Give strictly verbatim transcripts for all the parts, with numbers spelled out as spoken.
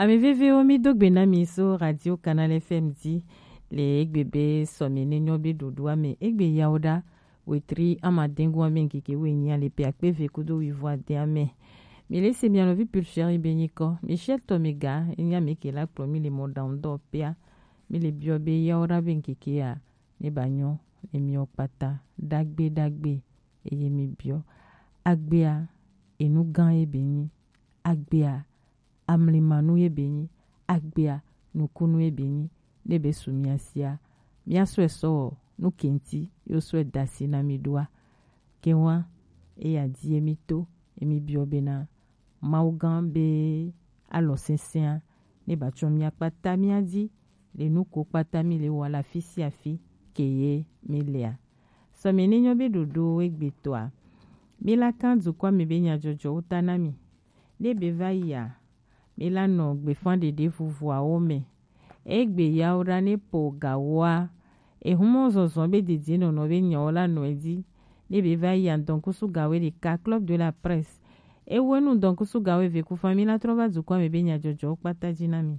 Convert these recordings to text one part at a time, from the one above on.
Ame vevewo, mi do gbe na mi so Radio Canal F M di le egbe be sɔmi ne nyɔ be ɖoɖoa me. Egbe yawo ɖa, wetri amadɛngu ame ŋkeke wenyi ale pe akpe eve kudo wivo ade ame. Mi le se mia nɔvi Pulchérie be nyikɔ, mi shɛ tɔ mi ga, enya mi ke la kplɔ mi le mɔ ɖaŋu dɔ pea. Mi le biɔ be yawo ɖa be ŋkeke ya ne ba nyɔ ne miɔ kpata ɖagbe ɖagbe, eye mi biɔ agbea enu gã ye be nyi, agbea amlimanu ye be nyi, agbea nukunu ye be nyi, ne be su mia sia, mia sɔe sɔ nu kenti yo sɔe dasi na mi ɖoa. Ke wa eya di ye mi to, ye mi biɔ bena Mawu gã be alɔ sɛsɛa ne ba tsɔ mia kpata mia di le nu ko kpata mi le wa la fi sia fi ke ye mi lea. Sɔmi ne nyɔ be ɖoɖo egbetɔa, mi la kan dukɔ mi be nyadzɔdzɔwo ta na mi. Ne be va yia, mi la nɔ gbefan ɖeɖe vuvuawo me. Egbe yawo ɖa ne po gawoa, ehumɔ zɔzɔ be didi nɔnɔ be nyawo la nɔ edi. Ne be va yia, ŋdɔnkusu gawo ɖeka, Club de la Presse. Ewe nu ŋdɔnkusu gawo eve ku fan mi la trɔ va dukɔ me be nyadzɔdzɔwo kpata dzi na mi.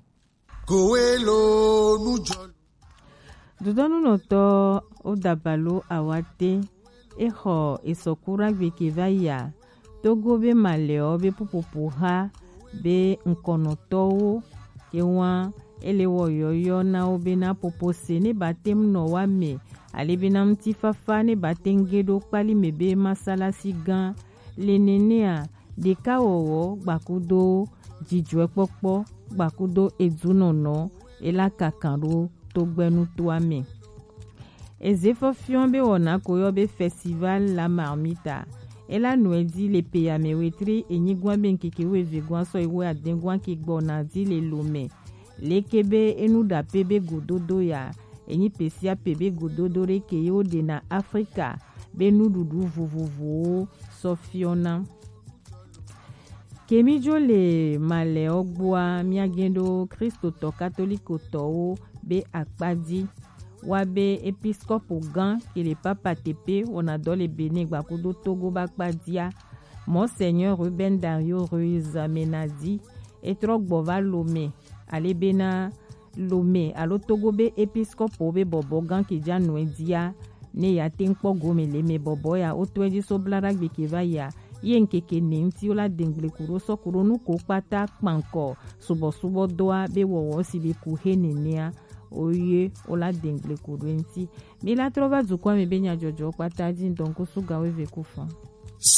Kowelo nujɔlu. Dudɔnunɔtɔ Odabalo Awate, exɔ esɔkuragbe ke va yia, Togo be malɛɔ be pupopo ha be ŋkɔnɔtɔwo ke wa ele wɔ yɔyɔ na wo be na popo se ne ba tem nɔ wa me, ale be na ŋutifafa ne ba tem ge ɖo kpali me be masalasi gã le nenea, ɖekawɔwɔ gbakudo dzidzɔɛkpɔkpɔ gbakudo edunɔnɔ ela kakan ɖo togbɛnutoa me. Eze fɔfiɔ be wɔna ko yɔ be Festival la Marmita. Ela nɔe di le pe ya me wetri enyigua be ŋkeke weve gua sɔ iwe adengua ke gbɔna di le Lomé. Leke be enu ɖape be gododo ya, enyi pe sia pe be gododo ɖe ke ye wo ɖe na Afrika be nuɖuɖu vovovowo sɔ fiɔna. Ke mi dzo le malɛɔ gbɔa, miage ɖo Kristotɔ katolikotɔwo be akpa dzi. Wa be episkopo gã ke le papa tepe wɔna dɔ le Benin gbakudo Togo ba akpa dzia, Monseigneur Ruben Dario Ruiz Menadi, etrɔ gbɔ va Lomé, ale bena Lomé alo Togo be episkopo be bɔbɔ gã ke dza nɔe dzia, ne ya te ŋkpɔ gome le me bɔbɔ ya, wo tɔe dzi so bla ɖagbe ke va yia, ye ŋkeke ne ŋuti wo la dengble ku ɖo sɔ ku ɖo nu ko kpata kpankɔ subɔsubɔ dɔa be wɔwɔ si be ku he nenea, oye wo la dengble ku ɖo ŋuti. Mi la trɔ va dukɔ me be nyadzɔdzɔ kpata dzi ŋdɔnkusu gawo eve ku fan.